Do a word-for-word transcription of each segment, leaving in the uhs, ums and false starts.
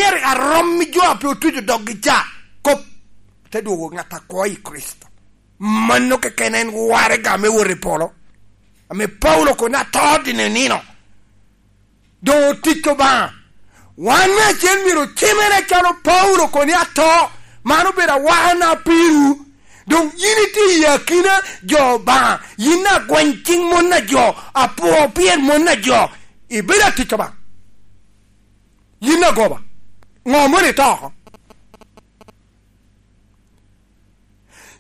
Myero arom i jo a pe otuco doggi ca. Kop te dwogo ŋat akwo i Kricito. Mano keken en waraga me wot i polo, ame Paulo kono ato dino i nino. Doŋ otic Obaŋa. Wan me acel myero ocimere acalo Paulo kono ato. Man obedo awakana pirwu. Doŋ yin itye i akina jo Obaŋa, yin agweny ciŋ mon a jo, apwo pien mon a jo, ibedo atic Obaŋa. Yin agoba. Ŋo mono ito oko?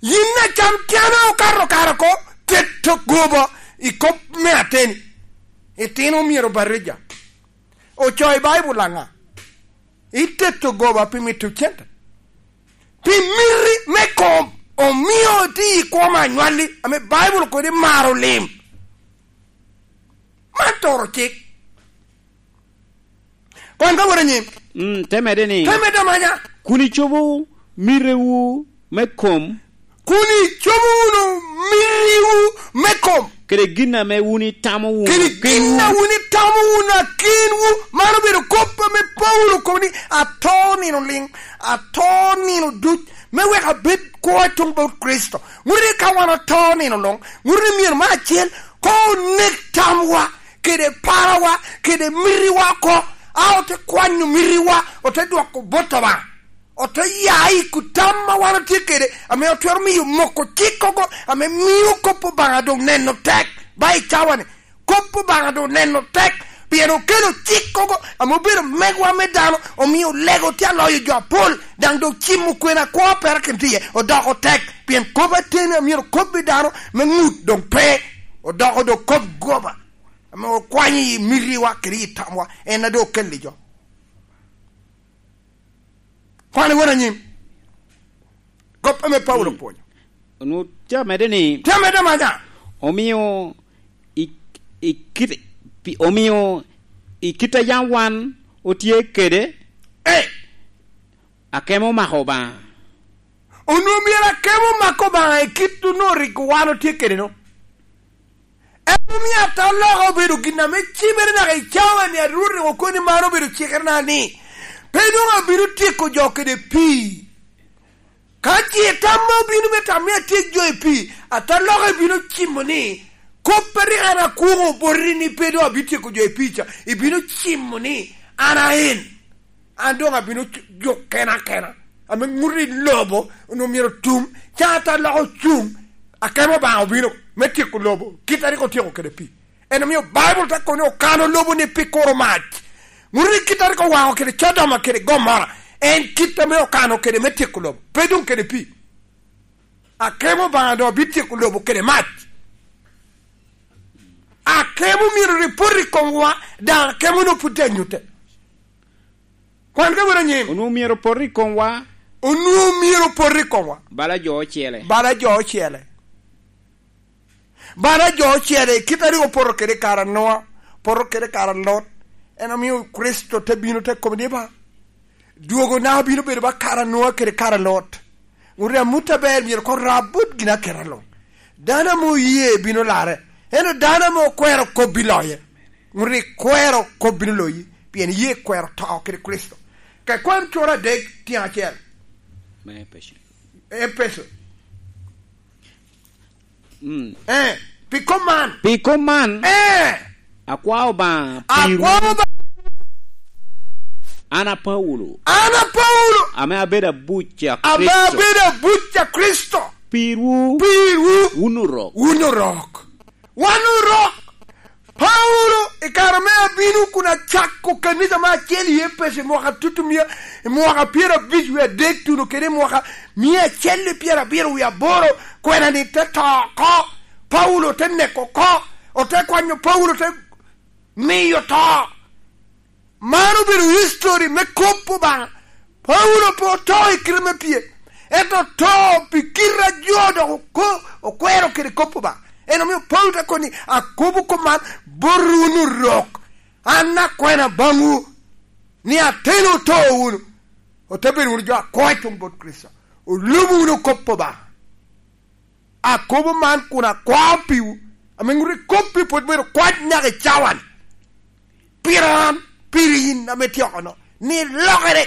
Yin acam tyana okato kare oko, keto goba i kop me ateni. Itino myero obatija. Ocoyo i Baibul aŋa? Iteto goba pi mito cente. Pi miti me kom, omio iti i kwo me anywalli, ame Baibul kodi maro lim. Man toro cik. Kwan ka wot anyim. Mm, te medde ni, te medde amanya. Kun icobo mitewu me kom. Kun icobo wunu mitiwu me kom. Kede gin ame wun itamo wunu kenwu. Kede gin a wun itamo wunu akinwu. Man obedo kop ame Paulo okobo ni, ato nino liŋ, ato nino duc, me wek abed kwo tuŋ bot Kricito. Ŋuti ka wan oto nino luŋ, ŋuti myero me acel, ko onek tamwa, kede parawa, kede mitiwa oko, a ote kwanyo mitiwa, ote dwoko bot Obaŋa, ote ya i kutam ma wan otye kede, ame otwero miyo moko cik oko, ame mio kop Obaŋa doŋ neno tek, ba i cawa-ni. Kop Obaŋa doŋ neno tek, pien okelo cik oko, ame obedo megwa me dano, omio lego tye aloyo jo apol, daŋ doŋ cimo kwena kwo a perakino tye iye odoko tek, pien kop ateni a myero kobbi dano me ŋut doŋ pe, odoko doŋ kop goba. Ame okwanyo i mitiwa kede i tamwa, en a doŋ okelli jo. Kwan i wot anyim. Kop ame Paulo opwonyo. Onwoŋo tye amedde ni, tye amedde amanya. Omio i, i kit, pi, omio i kit a yam wan otye kede, eh, akemo omako Obaŋa. Onwoŋo myero akemo omak Obaŋa i kit onwoŋo rik wan otye kede-nu. En omio ataloka obedo gin ame cimere naka i cawa-ni, a Rwot rik okobo ni man obedo cikere na ni, pe doŋ abino tyeko jo kede pii. Ka ce tamma obino me tam ni atyek jo i pii, ataloka ebino cimo ni, kop a rik an akwoŋo boti ni pe doŋ abityeko jo i pii ca, ibino cimo ni an a en. An doŋ abino cu-, juk kena kena. Ame ŋuti lobo onwoŋo myero otum, ca ata loko cuŋ, akemo Obaŋa obino me tyeko lobo, kit a rik otyeko kede pii. En omio Baibul te kobo ni okano lobo-ni pi kuro mac. Ŋuti kit a rik owaŋo kede Codoma kede Gomora, en kit ame okano kede me tyeko lobo, pe doŋ kede pii. Akemo Obaŋa doŋ obityeko lobo kede mac. Akemo myero rik pot i komwa, daŋ akemo-nu pwod tye anyutte. Kwan ka wot anyim. Onwoŋo myero pot i komwa. Onwoŋo myero pot i komwa. Bala jo ocele. Bala jo ocele. Bala jo ocele, kit a rik opoto kede i kare a Noa, poto kede i kare a Lot. En omio Kricito te bino te kobo ni, "Ba, dwogona obino bedo ba kare a Noa kede kare a Lot." Ŋut amut aber myero koŋ rab bot gin aketa luŋ. Dano ame oye bino larre, ento dano ame okwero kop biloye. Ŋut ikwero kop bino loyi, pien iye kwero to kede Kricito. Ka ikwan coro adek tyen acel. Me Epeco. Epeco. Mm. Eh, pi kop man. Pi kop man, eh, akwao Obaŋa pirwu. Akwao Obaŋa. An a Paulo. An a Paulo. Ame abedo abuc a Kricito. Ame abedo abuc a Kricito. Pirwu. Pirwu. Wun orok. Wun orok. Wan orok. Paulo, i kare me abino kun acako kanisa me acel i Epeco i mwaka tutumia, i mwaka pyerabic wie adek tuno kede i mwaka mia acel i pyerabiro wie aboro, kwena-ni te to oko. Paulo te neko oko, ote kwanyo Paulo, te miyo to. Man obedo history me kop Obaŋa. Paulo pe oto i kite me pye, ento oto pi kite a jo dok oko-, okwero kede kop Obaŋa. En omio Paulo te kobo ni, "Akobo kop man bot wun orok, an akwena baŋwu, ni ateni oto wunu, ote bedo wunu jo akwo i tuŋ bot Kricito, olubo wunu kop Obaŋa." Akobo man kun akwao piwu, ame ŋut i kop-pi pwod myero kwac naka i cawa-ni. Pira an, piri yin ame tye oko-no, ni lokere,